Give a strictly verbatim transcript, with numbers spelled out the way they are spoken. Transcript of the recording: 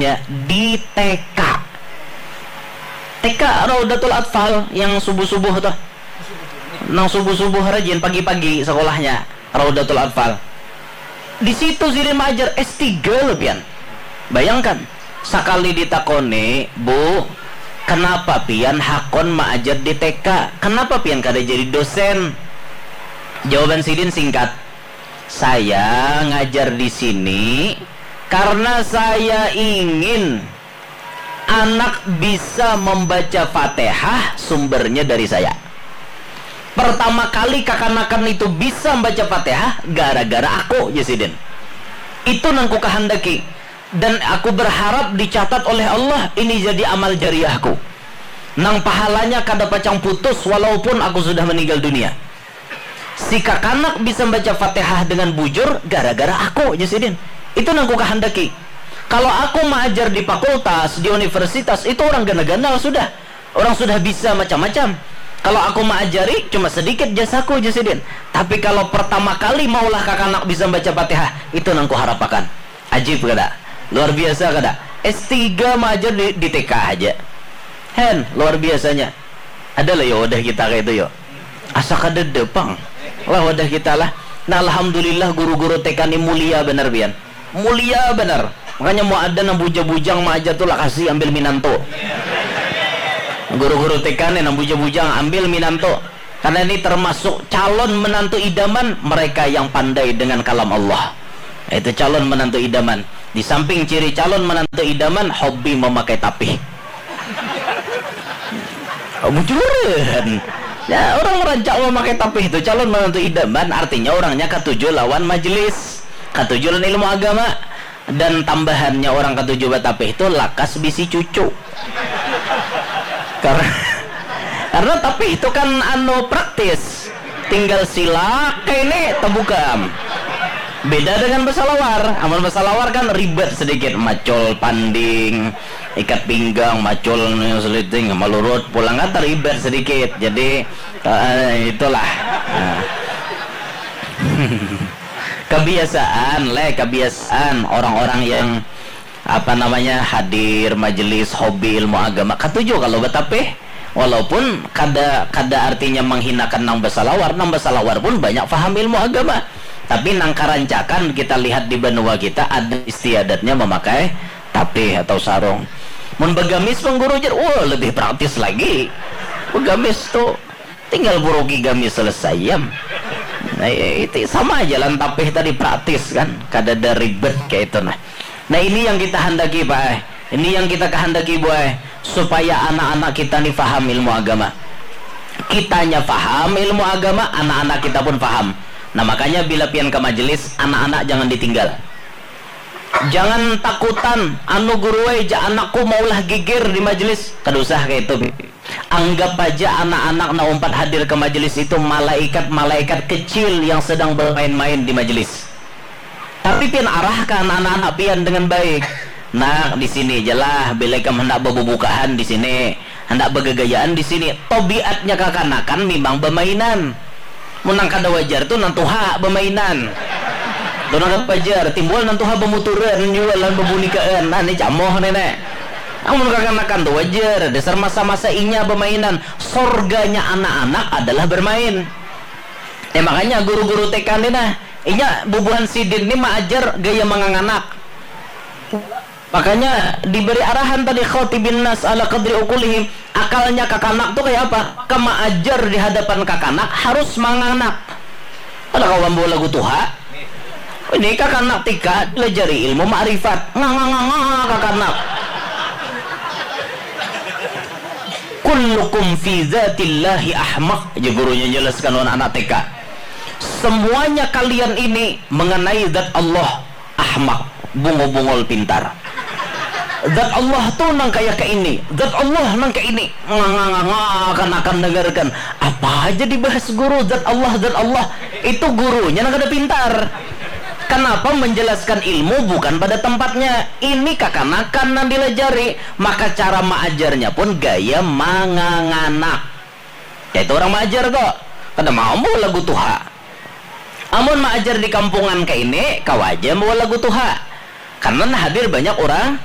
ngajarnya di T K. T K Raudatul Atfal yang subuh-subuh tuh. Nang subuh-subuh rajin pagi-pagi sekolahnya Raudatul Atfal. Di situ sidin maajar S tiga loh pian. Bayangkan, sakali ditakoni, "Bu, kenapa pian hakun maajar di T K? Kenapa pian kada jadi dosen?" Jawaban sidin singkat, "Saya ngajar di sini karena saya ingin anak bisa membaca Fatihah, sumbernya dari saya. Pertama kali kakanakan itu bisa membaca Fatihah gara-gara aku," jar sidin. "Itu nang kukahandaki. Dan aku berharap dicatat oleh Allah ini jadi amal jariahku. Nang pahalanya kada pacang putus walaupun aku sudah meninggal dunia. Si kakanak bisa membaca Fatihah dengan bujur gara-gara aku," jar sidin. "Itu nang kukahandaki. Kalau aku maajar di fakultas, di universitas, itu orang ganal-ganal sudah. Orang sudah bisa macam-macam. Kalau aku maajari, cuma sedikit jasaku," jar sidin. "Tapi kalau pertama kali maulah kakanak bisa membaca Fatihah, itu nang kuharapakan." Ajib kada? Luar biasa kada? S tiga maajar di, di T K haja. Hen, luar biasanya. Ada lah ya wadah kita kayak itu ya. Asa kadada pang lah wadah kita lah. Nah, alhamdulillah guru-guru T K ni mulia benar pian. Mulia benar. Makanya mau ada nang bujang-bujang maajar tu lah kasih ambil minantu. Guru-guru T K ni nang bujang-bujang ambil minantu. Karena ini termasuk calon menantu idaman mereka yang pandai dengan kalam Allah. Itu calon menantu idaman. Di samping ciri calon menantu idaman, hobi memakai tapih. Bujuran. Ya, orang rancak memakai tapih itu calon menantu idaman, artinya orangnya katuju lawan majelis, katuju lawan ilmu agama. Dan tambahannya orang katuju batapih itu lakas bisi cucu. Karena, karena tapih itu kan anu praktis. Tinggal silak kayak ini terbuka. Beda dengan basalawar. Amun basalawar kan ribet sedikit, macul panding, ikat pinggang, macul seliting, malurut, pulang kan teribet sedikit. Jadi, eh, itulah. Nah. Kebiasaan, le, kebiasaan orang-orang yang, apa namanya, hadir majelis hobi ilmu agama, katuju kalau batapih. Walaupun kada, kada artinya menghinakan nang basalawar, nang basalawar pun banyak faham ilmu agama. Tapi nang karancakan kita lihat di banua kita ada istiadatnya memakai tapih atau sarung. Mun bagamis pang guru jar, wah, lebih praktis lagi. Bagamis tuh tinggal buruki gamis selesai, yam. Nah, itu sama aja lan tapih tadi praktis kan, kada ada ribet kayak itu nah. Nah, ini yang kita handaki, Pak, eh. Ini yang kita kehendaki, Bu, eh, supaya anak-anak kita ni faham ilmu agama. Kitanya faham ilmu agama, anak-anak kita pun faham. Nah, makanya bila pian ke majelis, anak-anak jangan ditinggal. Jangan takutan, anu guru ai ja anakku maulah gigir di majelis. Kada usah kayak itu. Anggap aja anak-anak na umpat hadir ke majelis itu malaikat-malaikat kecil yang sedang bermain-main di majelis. Tapi pian arahkan anak-anak pian dengan baik. Nak, di sini aja lah, bila ikam hendak bebubukaan di sini, hendak begegayaan di sini. Tobiatnya kakanakan memang bemainan. Mun nang kada wajar tu nang tuha bemainan. Tu nang kada wajar, timbul nang tuha bemuturan jua lawan bebunikaan. Nah, ni camoh ni, nek. Amun kakanakan tu wajar, dasar masa-masa inya bemainan. Sorganya anak-anak adalah bermain. Ya, makanya guru-guru T K ni nah, inya bubuhan sidin ni maajar gaya manganganak. Makanya diberi arahan tadi khatibin nas ala qadri uqulihim. Akalnya kakanak tu kaya apa? Kama ajar di hadapan kakanak harus manganak. Kada kawa bawa lagu tuha. Ini kakanak T K dilajari ilmu makrifat. Nganga-nganga kakanak. Kullukum fi dzatillahi ahmaq, jar gurunya jelaskan wan anak T K. Semuanya kalian ini mengenai zat Allah ahmaq, bungul-bungul pintar. Zat Allah tu nang kaya ke ini, zat Allah nang ke ini. Nganga-nganga kanakan dengarkan. Apa aja dibahas guru, zat Allah, zat Allah. Itu gurunya nang kada pintar. Kenapa menjelaskan ilmu bukan pada tempatnya? Ini kakanakan nang dilajari, maka cara maajarnya pun gaya manganganak. Kaitu orang maajar tu. Kada mau bawa lagu tuha. Amun maajar di kampungan kaini, kawa aja bawa lagu tuha. Karena nah hadir banyak orang